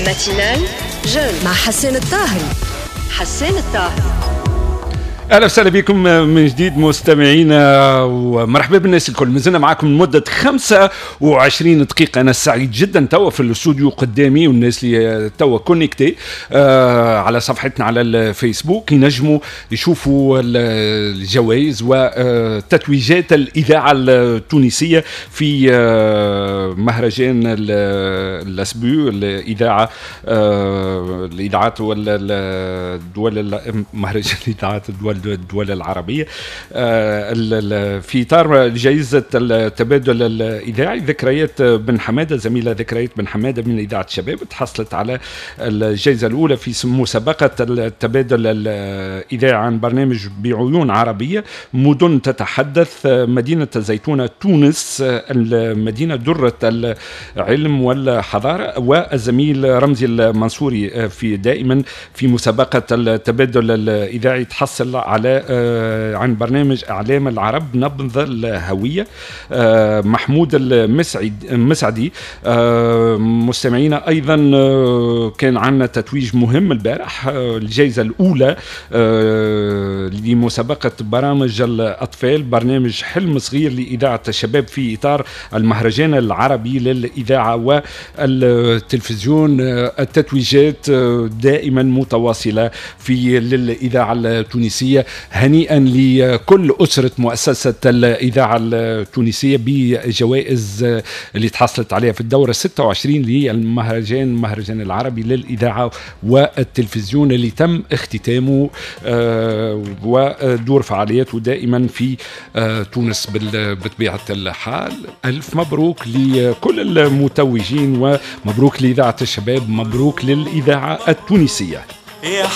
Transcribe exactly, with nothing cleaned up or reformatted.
Matinale Jeune مع حسان الطاهري. حسان الطاهري. اهلا وسهلا بكم من جديد مستمعينا، ومرحبا بالناس الكل. مازلنا معاكم لمدة خمسة وعشرين دقيقه. انا سعيد جدا توا في الاستوديو قدامي، والناس اللي توا connectés آه على صفحتنا على الفيسبوك ينجموا يشوفوا الجوائز وتتويجات الاذاعة التونسية في آه مهرجان l'ASBU، الاذاعة آه الاذاعات والدول، مهرجان الاذاعات الدول الدول العربية آه، في إطار جائزة التبادل الإذاعي، ذكريات بن حمادة، زميلة ذكريات بن حمادة من إذاعة الشباب تحصلت على الجائزة الأولى في مسابقة التبادل الإذاعي عن برنامج بعيون عربية، مدن تتحدث، مدينة الزيتونة تونس، المدينة درة العلم والحضارة. والزميل رمزي المنصوري في دائما في مسابقة التبادل الإذاعي تحصل على آه، عن برنامج اعلام العرب، نبض الهويه، آه، محمود المسعد المسعدي. آه، مستمعينا، ايضا كان عندنا تتويج مهم البارح، الجائزة الاولى لمسابقه برامج الاطفال، برنامج حلم صغير لاذاعة الشباب في اطار المهرجان العربي للاذاعة والتلفزيون. التتويجات دائما متواصلة في للاذاعة التونسيه. هنيئا لكل أسرة مؤسسة الإذاعة التونسية بجوائز اللي تحصلت عليها في الدورة ستة وعشرين للمهرجان، المهرجان العربي للإذاعة والتلفزيون اللي تم اختتامه آه، ودور فعالياته دائما في آه، تونس بطبيعة الحال. ألف مبروك لكل المتوجين، ومبروك لإذاعة الشباب، مبروك للإذاعة التونسية. يا